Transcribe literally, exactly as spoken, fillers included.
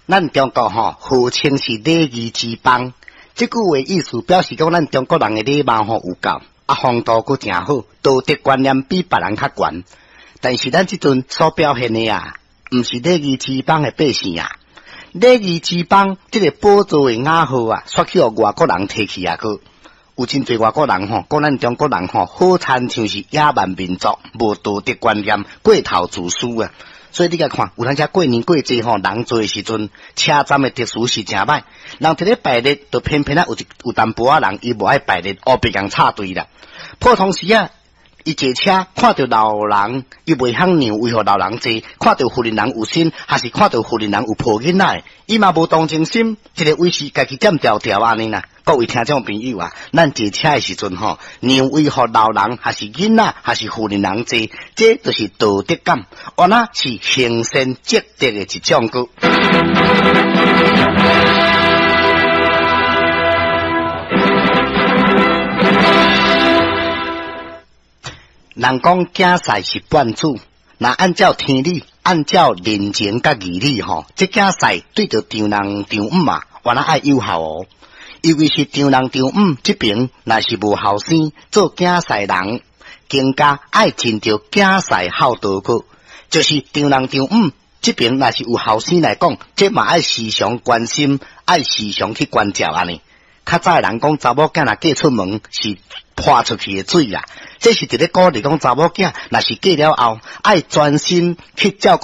咱中國吼號稱是禮儀之邦，這句話意思表示講咱中國人的禮貌吼有夠，啊風度閣誠好，道德觀念比別人較懸。但是咱這陣所表現的啊，毋是禮儀之邦的百姓啊。禮儀之邦這個寶座的雅號啊，煞去予外國人提去啊！閣有真濟外國人吼，講咱中國人吼，好親像是野蠻民族，無道德觀念，過頭自私啊！所以你共看，有當時過年過節吼，人濟的時陣，車站的秩序是誠歹，人佇咧排列，就偏偏啊有一有淡薄仔人，伊無愛排列，烏白共插隊啦。普通時啊，伊坐車看著老人，伊袂曉讓位予老人坐；看著婦人有身，還是看著婦人有抱囡仔，伊嘛無同情心，一个位是家己佔條條按呢啦。各位聽眾朋友啊，咱坐車的時陣吼，讓位予老人，還是囡仔，還是婦人坐，這就是道德感，原來是行善積德的一種閣。人講囝婿是半子，若按照天理，按照人情佮義理吼，這囝婿對著丈人丈母啊，原來愛有孝哦。尤其是丈人丈母這爿，若是無後生做囝婿人，更加愛盡著囝婿孝道閣。就是丈人丈母這爿，若是有後生來講，這嘛愛時常關心，愛時常去關照按呢。較早的人講，查某囝若嫁出門是潑出去的水啊！這是佇咧鼓勵講查某囝，若是嫁了後，愛專心去照顧。